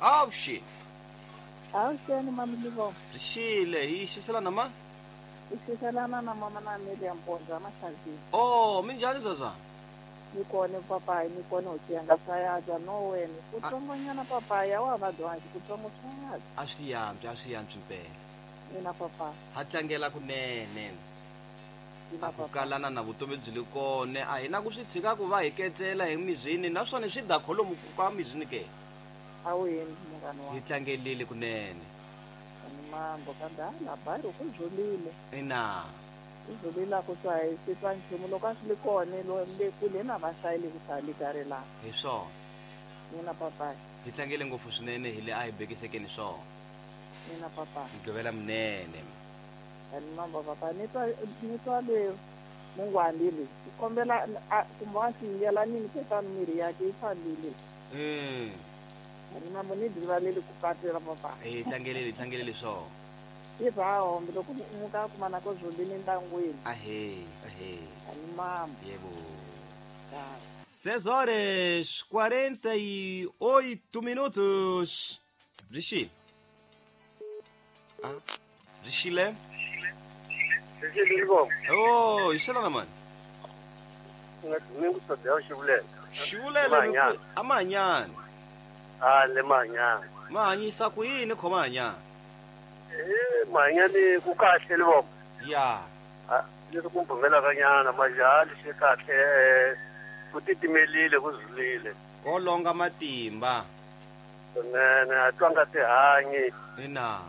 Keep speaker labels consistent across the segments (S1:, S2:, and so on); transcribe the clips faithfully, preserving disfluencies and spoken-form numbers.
S1: Avuxeni.
S2: Avuxeni mami Livombo.
S1: Rixile hi xiselana ma?
S2: I xiselana na mama na Amelia Mpondzo Maxazini.
S1: Oh, minjhani zazana?
S2: Ni kona papayi, ni kona u tiyanga swa no wena. Ku tsongonyana papayi a wa va dwangi ku tsongo swa
S1: A swi yantswi, a swi yantswi mpela.
S2: Ina papa.
S1: Ha tlangela kunene. A ku kalana na vutomi byi le kona a hi na ku swi tshika ku va hi ketela hi mizini naswona swi da kholomu ka mizini ke.
S2: A wu endli munghana wa.
S1: Hi tlangelile kunene.
S2: Ni mambo kambe a la bayiro ku zulile.
S1: Ina.
S2: Ku zulile ku swa hi swi twa nchumu loko a swi li kona lo le kule na va hlayile ku sali karhi la.
S1: Hi swona.
S2: Ina papa.
S1: Hi tlangele ngopfu swinene hi le a hi bekisekeni swona.
S2: Ina papa.
S1: Mugqivela munene.
S2: Ani mambo papa ni twa ni twa le mungwani le. Kombela kumbe a swi nini ke miri yakhe yi fambile.
S1: Mm.
S2: Ani mambo ni rivalele ku patela papa.
S1: Eh tlangelele tlangelele swona.
S2: I va hombe loko muka kuma na ko zulile ntangwini.
S1: Ahe, ahe.
S2: Ani mambo.
S1: Yebo. seis horas quarenta e oito minutos. Rixile. Ah, Rixile.
S3: Rixile Livombo.
S1: Oh, ixelana mani.
S3: Ni ku sodela Xivulele.
S1: Xivulele a mahanyana.
S3: Ah, le mahanyana.
S1: Ma hanyisa ku yini khoma hanyana?
S3: Eh, mahanyani ku kahle Livombo.
S1: Ya.
S3: Ah, leswi ku mbumelaka nyana majali xi kahle ku titimelile ku zulile.
S1: Ko longa matimba.
S3: Swinene a twanga tihanyi.
S1: Ina.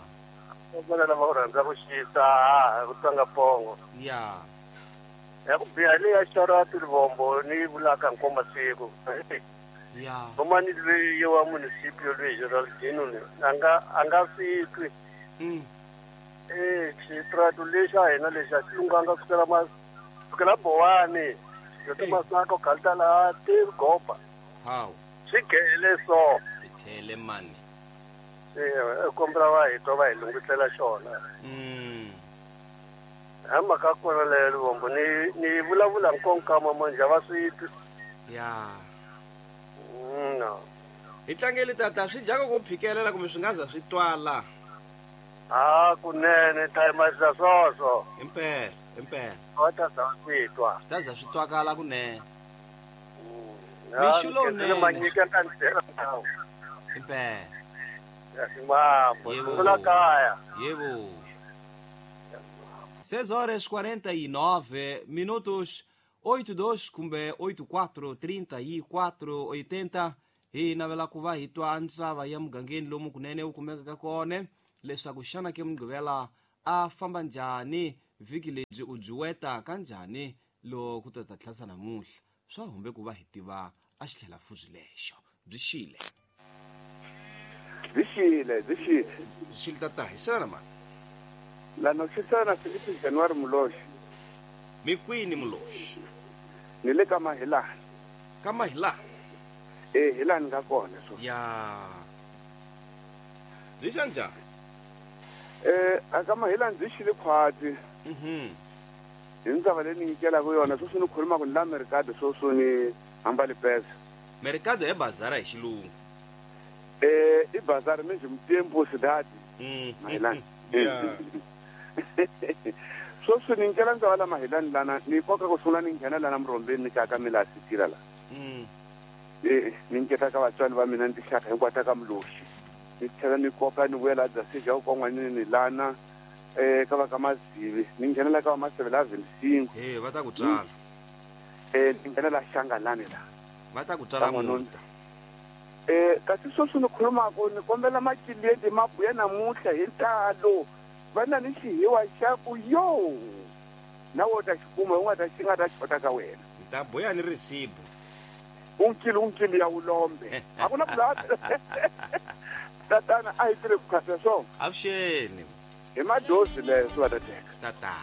S3: Vona lava u rhandza ku xisa a ku twanga pongo.
S1: Ya.
S3: Ya ku biha leya xarati Livombo ni vulaka nkomba siku.
S1: Ya.
S3: Vomani loyi wa municipio loyi Geraldino ni a nga a nga swi twi.
S1: Mm.
S3: Eh, xitrato lexi a hina lexi a xi lunghanga kusukela ma kusukela Bowani. Yo masako kalta la te gopa.
S1: How?
S3: Swi gele so.
S1: Swi mani.
S3: Eh, kombela va hi twa va hi lunghisela xona.
S1: Mm.
S3: Ha mhaka kona leyo Livombo ni ni vulavula nkonkama manje va swi twi.
S1: Ya.
S3: Mm, no.
S1: Hi tlangele tata swi dyaka ku phikelela kumbe swi nga za swi twala.
S3: Ah, kunene time za swoswo.
S1: Impela, impela.
S3: Va ta za swi twa.
S1: Ta za swi twakala kunene.
S3: Mm.
S1: Mixo
S3: ni manyika ka ndlela ndhawu.
S1: Impela.
S3: Ya ximambo, sungula kaya.
S1: Yebo. seis horas quarenta e nove minutos, oito dois kumbe oito quatro trinta e quatro oitenta. Hi navela ku va hi twa ntsava ya mugangeni lomu kunene u kumekaka kona leswaku xana ke Mugqivela a famba njhani vhiki lebyi u byi weta kanjhani loko ku ta ta tlhasa namuntlha swa humbe ku va hi tiva a xi tlhela fuzi lexo byi xile.
S4: Byi xile, byi xile.
S1: Byi xile tata hi xana mani?
S4: Lano xisana Filipe January Muloxi.
S1: Mi kwini Muloxi?
S4: Ni le ka Mahilani.
S1: Ka Mahilani?
S4: Eh, Hilani nga kona so.
S1: Ya. Byi xa njhani?
S4: Eh, a ka Mahilani byi xile khwatsi.
S1: Mhm.
S4: Hi ndzava leyi ni nyikelaka yona sweswi ni khulumaka ni la Mercado sweswi ni hamba Lipesa.
S1: Mercado e bazara hi xilungu.
S4: Eh, i bazara mesmo tempo cidade.
S1: Mm.
S4: Mahilani.
S1: Yeah.
S4: Sweswi ni nyikela ndzava la Mahilani lana ni koka ku sungula ni nghena lana Murhombeni ni kaka mi laha Sitira la.
S1: Mm.
S4: Eh, ni nyiketa ka vatswari va mina ni tixaka hinkwato ka Muloxi. Ni tlhela ni koka ni vuyela Dzasija ku kon'wanini lana eh ka va ka Mazivi ni nghenela ka va Maseve la Vinsingo.
S1: Eh, va ta ku tsala.
S4: Eh, ni nghenela Xangalani la.
S1: Va ta ku tsala munhu.
S4: Eh, kasi sweswi ni khulumaka ni kombela macileti ma buya namuntlha hi ntalo. Va na ni xihiwa xa ku yo. Na wo ta xi kuma u nga ta xi nga ta xota ka wena.
S1: Ni ta buya ni risibu.
S4: Unkili unkili ya ulombe. A ku na bulata. Tatana a hi tirhe ku khasa swona.
S1: Avuxeni.
S4: Hi madozi leswi va ta teka.
S1: Tata.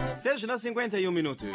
S1: Seis na cinquenta e um minutos.